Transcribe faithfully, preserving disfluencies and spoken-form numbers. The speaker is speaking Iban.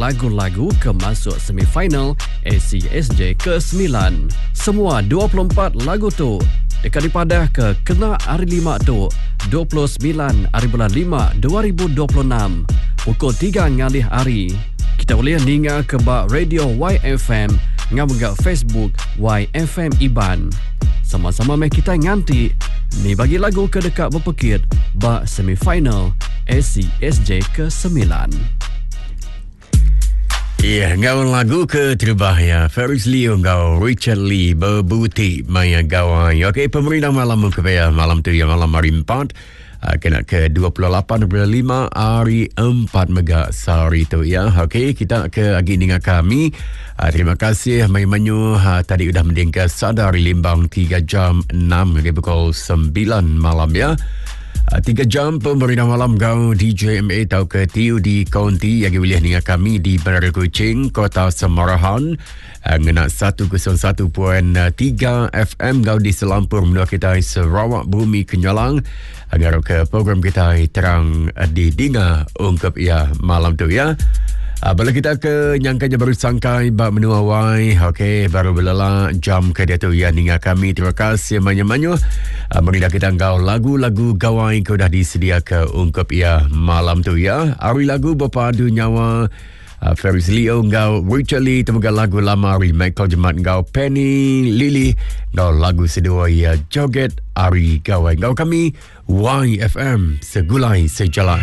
lagu-lagu ke masuk semifinal A C S J kesembilan. Semua dua puluh empat lagu tu deka dipadah ke kena hari lima tu, dua puluh semilan hari bulan lima dua ribu dua puluh enam, pukul tiga ngalih hari. Kita boleh ninga ke ba radio Y F M ngau mega Facebook Y F M Iban. Sama-sama meh kita nganti ni bagi lagu ke dekat berpekit ba semifinal A C S J kesembilan. Ya, ngau lagu ke terubah ya. Ferris Leo ngau Richard Lee, Bebuti Maya Gawai. Okey, pemerintah malam ke ya, malam tu ya, malam hari empat. Uh, kena ke dua puluh lapan bulan lima hari empat mega sehari tu ya. Okey, kita ke agi dengan kami. Uh, terima kasih mai menyu uh, tadi udah mendingka Sada ari Limbang tiga jam enam hingga pukul sembilan malam ya. Uh, tiga jam pemerintah malam gau D J M A atau ke T U di Konti yang boleh dengar kami di Bandar Kuching, Kota Samarahan. Uh, ngena seratus satu perpuluhan tiga F M gau di Selampur menua kita Sarawak Bumi Kenyalang. Agar ke program kita terang uh, di dinga ungkap ya malam tu ya. Uh, bala kita ke nyangkanya baru sangkai bak menua wai. Okey, baru berlela jam ke dia tu ya ninga kami. Terima kasih banyak-banyak. Uh, Meridah kita engkau lagu-lagu gawai ke dah disedia ke ungkap ya malam tu ya. Ari lagu berpadu nyawa Uh, Ferris Leo ngau Richard Lee, temukan lagu lama ari Michael Jemat ngau Penny Lily ngau lagu sedua ya, Joget Ari Gawai. Ngau kami Y F M, Segulai Sejalai.